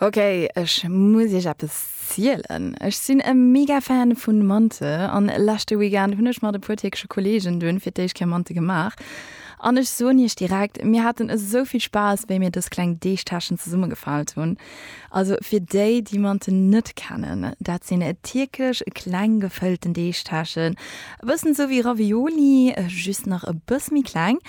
Ok, ech muss iech eppes zielen. Ech sinn e mega Fan vun Mante an leschte Weekend hunn ech mat e puer tierkesche Kollegen dunn fir d'éischt Kéier Mante gemaach. An ech soen iech direkt, mir haten esou vill Spaass wéi mir dës kleng Deegtäschen zesummegefaalt hunn. Also fir déi, déi Mante net kennen, dat sinn tierkesch kleng gefëllten Deegtäschen, e bëssen esou wéi Ravioli, just nach e bësse méi kleng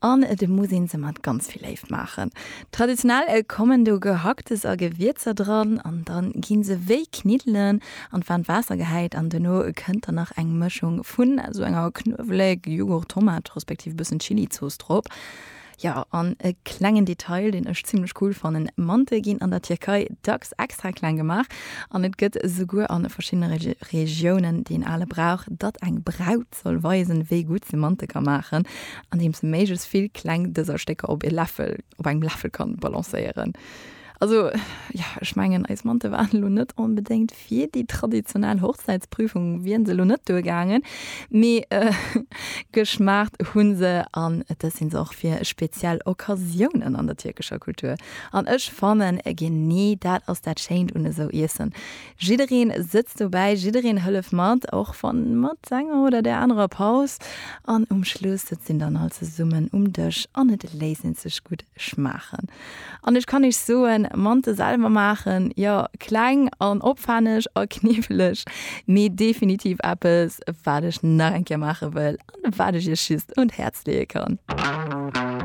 an et muss een se mat ganz vill Léift maachen. Traditionell kommen do Gehacktes a Gewierzer dran an dann ginn se wéi Kniddelen an d'waarmt Waasser gehäit an duerno kënnt dann nach eng Mëschung vun esou enger Knuewelek, Jughurt, Tomat respektiv e bëssen Chilizooss drop. Jo an e klengen Detail deen ech zimlech cool fannen, Mante ginn an der Tierkei dacks extra kleng gemaach an et gëtt esouguer an verschiddene Regiounen deen ale Brauch, datt eng Braut soll weisen, wéi gutt se Mante ka maachen, andeems se méiglechst vill kleng dëser Stécker op e Läffel, op engem Läffel kann balancéieren. Also, jo, ech mengen, eis Mante waren elo net onbedéngt fir déi traditionell Hochzäitsprüfung, wieren se elo net duergaangen, mee geschmaacht hu se an dës sinn se och fir speziell Occasiounen an der tierkescher Kultur. An ech fannen, genee dat ass dat Schéint un esou Iessen, Jiddereen sëtzt dobäi, jiddereen hëllef mat, och wann mat enger oder där anerer Paus. An um Schluss sëtzt een dann all zesummen um Dësch an et léisst een sech gutt schmaachen. An ech kann iech soen, Mante selwer maachen, jo, kleng an opwänneg a kniwweleg, mee definitiv eppes, wat ech nach eng Kéier maache wëll an wat ech iech just un d'Häerz leeë kann.